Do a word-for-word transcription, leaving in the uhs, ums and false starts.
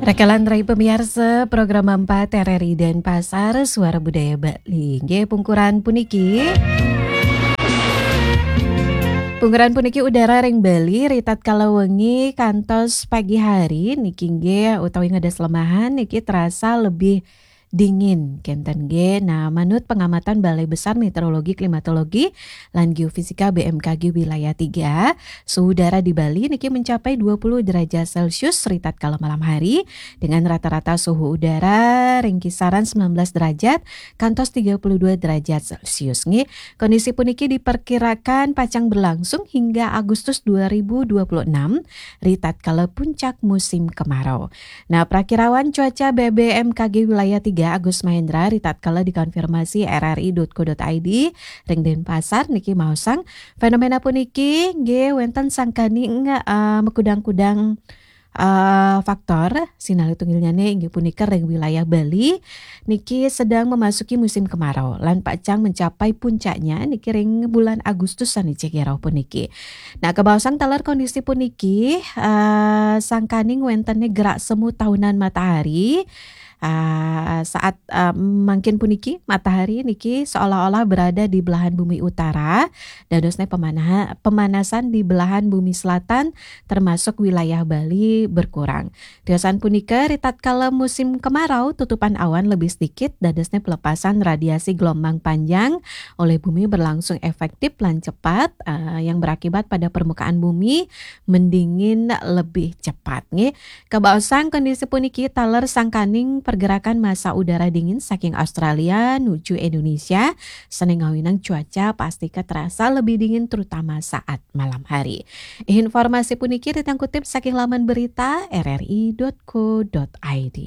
Rakalan rai pamiarsa, program empat R R I Denpasar, Suara Budaya Bali. Nggih, pungkuran puniki. Pungkuran puniki udara ring Bali, ritatkala wengi kantos pagi hari, niki nggih, utawi ngedes lemahan, niki terasa lebih dingin, kenten nggih. Nah, manut pengamatan Balai Besar Meteorologi, Klimatologi, lan Geofisika B M K G Wilayah tiga, suhu udara di Bali niki mencapai dua puluh derajat Celcius ritatkala malam hari, dengan rata-rata suhu udara ring kisaran sembilan belas derajat kantos tiga puluh dua derajat Celcius nggih. Kondisi puniki diperkirakan pacang berlangsung hingga Agustus dua ribu dua puluh enam, ritatkala puncak musim kemarau. Nah, prakirawan cuaca B B M K G Wilayah tiga Agus Mahendra ritatkala dikonfirmasi R R I dot co dot I D ring Denpasar niki maosang, fenomena puniki nggih wenten sangkaning, eh, makudang-kudang, eh, faktor, sinalih tunggilnyane inggih punika ring wilayah Bali niki sedang memasuki musim kemarau lan pacang mencapai puncaknya niki ring bulan Agustus sane cekirau puniki. Nah, kabaosang taler kondisi puniki, eh, sangkaning wentene gerak semu tahunan matahari. Ah, saat, ah, mangkin puniki matahari niki seolah-olah berada di belahan bumi utara, dadosne pemanaha-, pemanasan di belahan bumi selatan termasuk wilayah Bali berkurang. Tiosan punika, ritatkala musim kemarau, tutupan awan lebih sedikit, dadosne pelepasan radiasi gelombang panjang oleh bumi berlangsung efektif lan cepat, ah, yang berakibat pada permukaan bumi mendingin lebih cepat nggih. Kabaosang kondisi puniki taler sangkaning pergerakan massa udara dingin saking Australia nuju Indonesia, sane ngawinang cuaca pastika terasa lebih dingin terutama saat malam hari. Informasi puniki ritang kutip saking laman berita R R I dot co dot I D.